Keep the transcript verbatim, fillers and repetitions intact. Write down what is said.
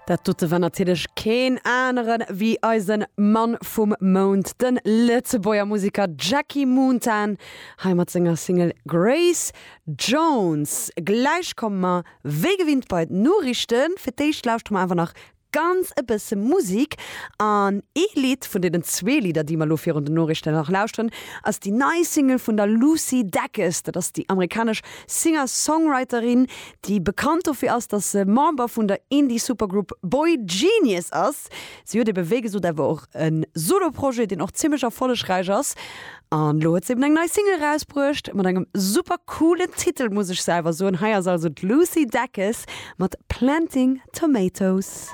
Dat dote war natierlech keen aneren wéi eise Mann vum Mount, de Lëtzebuerger Museker Jackie Moontan, hei mat senger Single Grace Jones. Gläich komme mer wéi gewinnt bei d'Noriichten. Fir d'éischt lauschtere mer awer nach ganz e bësse Musek an ee Lidd vun deenen zwee Lidder, déi mer lo virun den Noriichten nach lauschteren, ass déi nei Single vun der Lucy Dacus. Dat ass déi amerikanesch Singer-Songwriterin, déi bekannt dofir ass, dass se Member vun der Indie-Supergroup Boygenius ass. Si huet ebe wéi gesot awer och e Solo-Projet, deen och zimmlech erfollegräich ass. An lo huet se eben eng nei Single rausbruecht mat engem super coolen Titel, muss ech selwer soen. Hei ass also d'Lucy Dacus mat Planting Tomatoes.